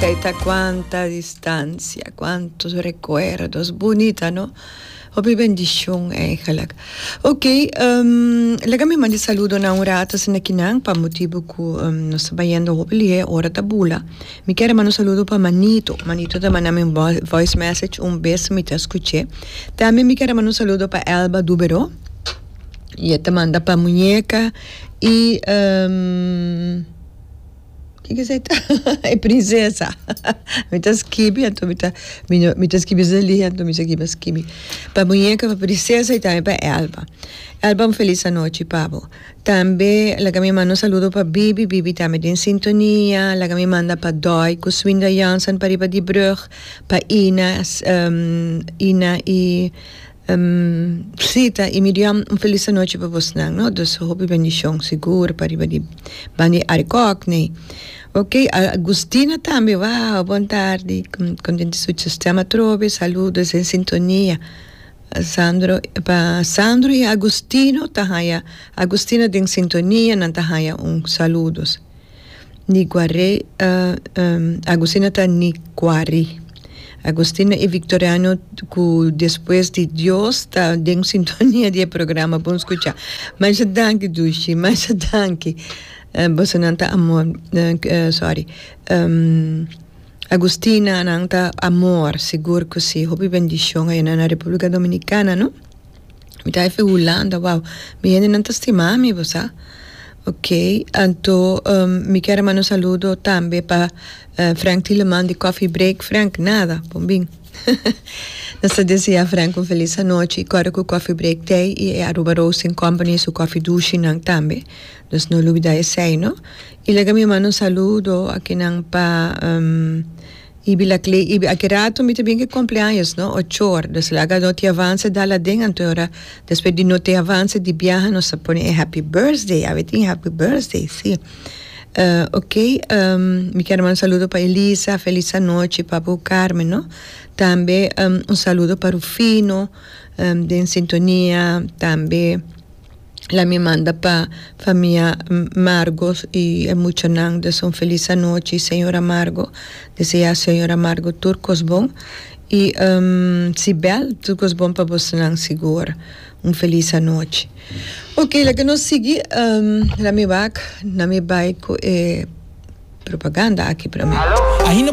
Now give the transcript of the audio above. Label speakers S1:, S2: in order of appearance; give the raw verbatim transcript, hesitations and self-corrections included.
S1: Esey ta "Cuánta distancia, cuántos recuerdos". Bunita, no? Hopi bendicion eigenlijk. Ok, um, laga mi manda saludo na un rato asina akinan pa motibo cu um, nos ta bayendo hopi lihe, ora ta bula. Mi kier manda un saludo pa Manito. Manito ta manda un voice message un bes mi ta scucha. Tambe mi kier manda un saludo pa Elba Dubero. Y ta manda pa Muñeca y um, kico esey ta? E princesa. Mi ta skirbi, anto mi ta mi ta skirbi ali, anto mi ta skirbi. Pa Muñeca, pa princesa y tambe pa Elba. Elba, un feliz anochi pa bo. Tambe, laga mi manda un saludo pa Bibi, Bibi tambe den sintonia, laga mi manda pa Doi, cu Swinda Jansen pa riba di brug, pa Ina, um, Ina y um, Sita y Miriam, un feliz anochi pa boso, no? Dus hopi bendicion, sigur, pa riba di banda di Arikok, ne? Ok, Agustina tambe, wow, bon tardi, contento cu sistema trobe, saludos den sintonia. Sandro, pa Sandro y Agustino, ta haya, Agustina den sintonia, nan ta haya un saludos. Niguaré, uh, um, Agustina ta Niguari. Agustina y Victoriano, cu despues di Dios, ta den sintonia di programa, bon scucha. Masha danki, dushi, masha danki. Uh, boso nan ta amor, uh, sorry. Um, Agustina nan ta amor, sigur cu si. Hopi bendicion ey na Republica Dominicana, no? Mi ta efe Hulanda, wow. Mi hende nan ta stima mi, bo sa? Ok, anto um, mi kier manda un saludo tambe pa uh, Frank Tilleman di Coffee Break. Frank, nada, bon bin. Nos ta desea Frank un feliz anochi. Awor cu Coffee Break tey y Aruba Roasting Company su coffee dushi nan tambe. Dus no lubida esey, no? Y laga mi manda un saludo akinan pa um, Ibi la Clay, Ibi, aki rato mi tambe cu cumpleaños, no? Ocho or. Dus laga Noti Avance dal aden, anto ora despues di Noti Avance di biaha nos ta pone happy birthday, awe tin happy birthday, si. Uh, ok, um, mi kier manda un saludo pa Elisa, feliz anochi, pa Carmen, no? Tambe um, un saludo pa Rufino, um, den sintonia, tambe laga mi manda pa famia Margos y muchanan, dus un feliz anochi, señora Margo. Desea señora Margo tur cos bon. Y um, Sibel, tur cos bon pa boso sigur. Un feliz anochi. Ok, laga nos sigui, um, laga mi wak, laga mi bay cu eh, propaganda aki pa mi.
S2: Ainda